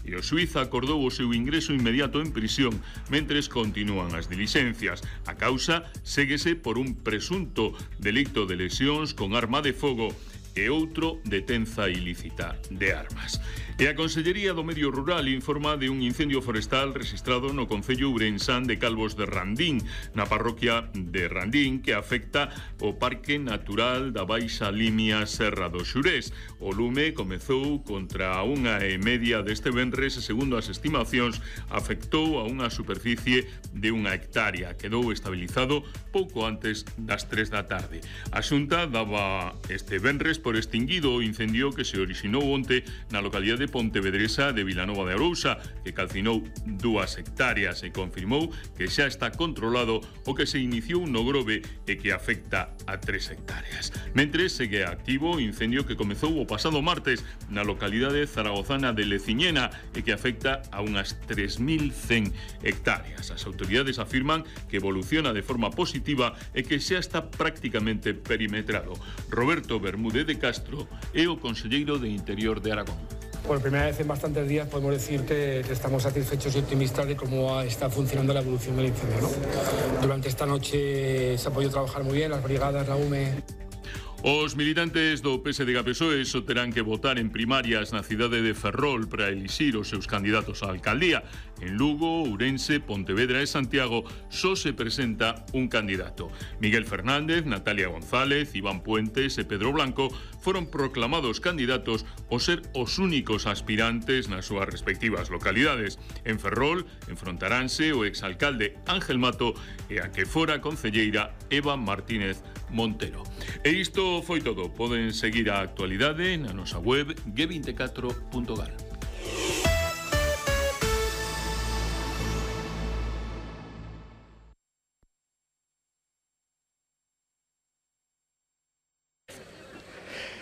e o xuíz acordou o seu ingreso inmediato en prisión mentres continúan as dilixencias. A causa séguese por un presunto delito de lesións con arma de fogo e outro de tenza ilícita de armas. E a Consellería do Medio Rural informa de un incendio forestal registrado no concello ourensán de Calvos de Randín, na parroquia de Randín, que afecta o Parque Natural da Baixa Limia Serra do Xurés. O lume comezou contra a 1:30 deste venres e, segundo as estimacións, afectou a unha superficie de 1 hectárea. Quedou estabilizado pouco antes das 3 da tarde. A Xunta daba este venres por extinguido o incendio que se orixinou onte na localidade pontevedresa de Vilanova de Arousa, que calcinou 2 hectáreas e confirmou que xa está controlado o que se iniciou no Grove e que afecta a 3 hectáreas. Mentres segue activo o incendio que comezou o pasado martes na localidade zaragozana de Leciñena e que afecta a unhas 3.100 hectáreas. As autoridades afirman que evoluciona de forma positiva e que xa está prácticamente perimetrado. Roberto Bermúdez de Castro é o conselleiro de Interior de Aragón. Por primera vez en bastantes días podemos decir que estamos satisfechos y optimistas de cómo está funcionando la evolución del incendio, ¿no? Durante esta noche se ha podido trabajar muy bien, las brigadas, la UME... Os militantes do PSDG-PSOE só terán que votar en primarias na cidade de Ferrol para elixir os seus candidatos á alcaldía. En Lugo, Ourense, Pontevedra e Santiago só se presenta un candidato. Miguel Fernández, Natalia González, Iván Puentes e Pedro Blanco foron proclamados candidatos ao ser os únicos aspirantes nas súas respectivas localidades. En Ferrol enfrontaranse o exalcalde Ángel Mato e a que fora concelleira Eva Martínez Montero. E isto foi todo. Poden seguir a actualidade na nosa web g24.gal.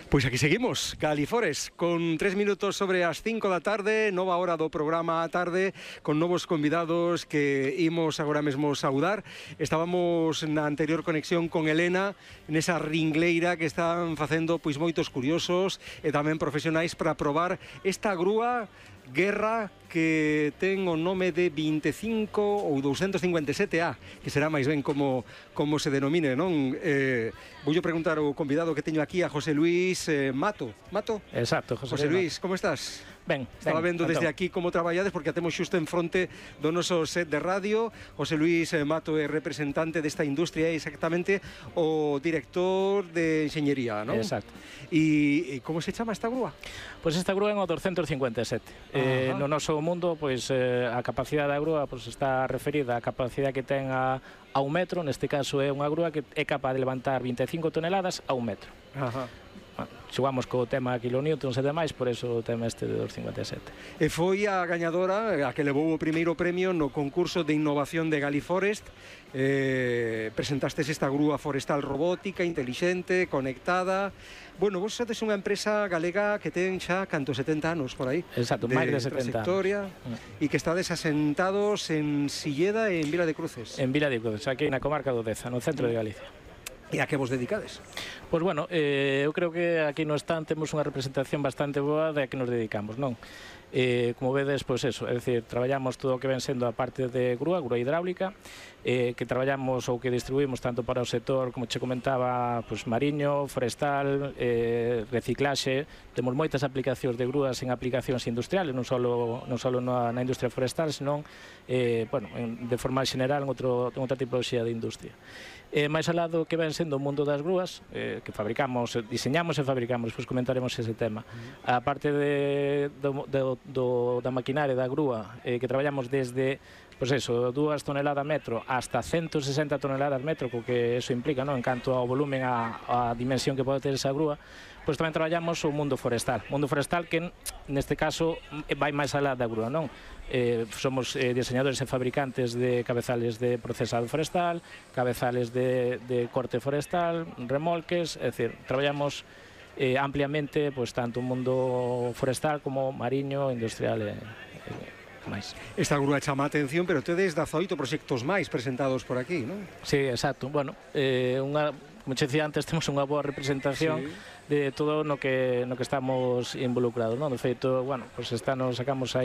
Pois aquí seguimos, Galifores, con 3 minutos sobre as 5 da tarde, nova hora do programa á tarde, con novos convidados que imos agora mesmo saudar. Estábamos na anterior conexión con Elena, nesa ringleira que están facendo pois moitos curiosos e tamén profesionais para probar esta grúa Guerra que ten o nome de 25 ou 257A, que será máis ben como se denomine, non? Voulle preguntar ao convidado que teño aquí, a José Luis Mato. Mato? Exacto, José Luis, como estás? Ben, estaba vendo desde aquí como traballades, porque a temos xusto en fronte do noso set de radio. José Luis Mato é representante desta industria, é exactamente o director de enxeñería, non? Exacto. E como se chama esta grúa? Pois esta grúa é o 257. No noso mundo, pois a capacidade da grúa pois está referida á capacidade que ten a 1 metro. Neste caso é unha grúa que é capaz de levantar 25 toneladas a 1 metro. Ajá. Xogamos co tema kilonewtons e demais, por eso o tema este de 257. E foi a gañadora a que levou o primeiro premio no concurso de innovación de Galiforest. Presentastes esta grúa forestal robótica, intelixente, conectada. Bueno, vos sodes unha empresa galega que ten xa canto 70 anos por aí. Exacto, máis de 70 trayectoria, e que estades asentados en Silleda e en Vila de Cruces. En Vila de Cruces, aquí na comarca do Deza, no centro de Galicia. E a que vos dedicades? Pois bueno, eu creo que aquí no stand temos unha representación bastante boa de a que nos dedicamos, non? Como vedes, pois eso, é dicir, traballamos todo o que ven sendo a parte de grúa hidráulica, que traballamos ou que distribuímos tanto para o sector, como che comentaba, pois mariño, forestal, reciclaxe. Temos moitas aplicacións de grúas en aplicacións industriales, non só na industria forestal, senón, bueno, de forma general en outra tipoloxía de industria. máis alá do que ven sendo o mundo das grúas, que fabricamos, diseñamos e fabricamos, pois comentaremos ese tema. A parte da maquinaria da grúa, que traballamos desde pois eso, 2 toneladas metro hasta 160 toneladas metro, co que eso implica, non? En canto ao volumen, a dimensión que pode ter esa grúa, pois tamén traballamos o mundo forestal. Mundo forestal que, neste caso, vai máis alá da grúa, non? Somos diseñadores e fabricantes de cabezales de procesado forestal, cabezales de corte forestal, remolques, é dicir, traballamos ampliamente, pois, tanto o mundo forestal como mariño, industrial e máis. Esta grúa chama a atención, pero tedes 18 proxectos máis presentados por aquí, non? Sí, exacto. Bueno, como che dicía antes, temos unha boa representación de todo no que estamos involucrados, non? De feito, bueno, pois sacamos aí